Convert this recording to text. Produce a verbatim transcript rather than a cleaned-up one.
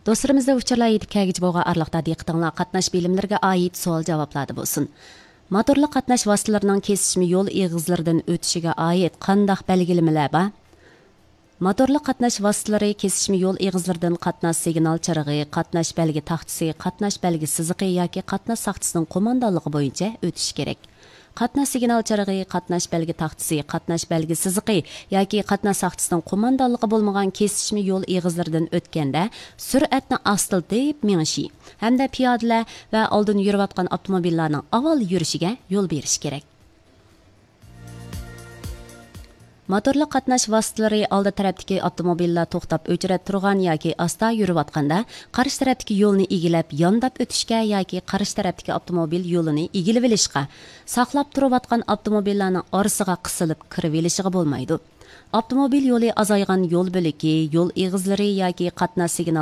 دوستلىرىمىزدا ئۇچۇرلار يېتىپ كەلگۈچە بولغان ئارىلىقتا دىققىتىڭلار قاتناش بىلىملىرىگە ئائىت سوئال جاۋابلاردا بولسۇن. موتورلۇق قاتناش ۋاسىتىلىرىنىڭ كېسىشمە يول ئېغىزلىرىدىن ئۆتۈشىگە ئائىت قانداق بەلگىلىمىلەر بار؟ موتورلۇق قاتناش ۋاسىتىلىرى كېسىشمە يول ئېغىزلىرىدىن قاتناش سىگنال چىرىغى، قاتناش بەلگە تاختىسى، قاتناش بەلگە سىزىقى ياكى قاتناش ساقچىسىنىڭ قوماندانلىقى بويىچە ئۆتۈشى كېرەك. قاتناش سىگنال چىرىغى، قاتناش بەلگە تاختىسى، قاتناش بەلگە سىزىقى ياكى قاتناش ساقچىسىنىڭ قوماندانلىقى بولمىغان كېسىشمە يول ئېغىزلىرىدىن ئۆتكەندە، سۈرئەتنى ئاستىلىتىپ مېڭىشى ھەمدە پىيادىلەر ۋە ئالدىن يۈرۈۋاتقان ئاپتوموبىللارنىڭ ئاۋۋال يۈرۈشىگە يول بېرىش كېرەك. موتورلۇق قاتناش ۋاسىتىلىرى ئالدى تەرەپتىكى ئاپتوموبىللار توختاپ ئۆچرەت تۇرغان ياكى ئاستا يۈرۈۋاتقاندا، قارشى تەرەپتىكى يولنى ئىگىلەپ يانداپ ئۆتۈشكە ياكى قارشى تەرەپتىكى ئاپتوموبىل يولىنى ئىگىلىۋېلىشقا، ساقلاپ تۇرۇۋاتقان ئاپتوموبىللارنىڭ ئارىسىغا قىسىلىپ كىرىۋېلىشىغا بولمايدۇ. ئاپتوموبىل يولى ئازايغان يول بۆلىكى، يول ئېغىزلىرى ياكى قاتناش سىگنال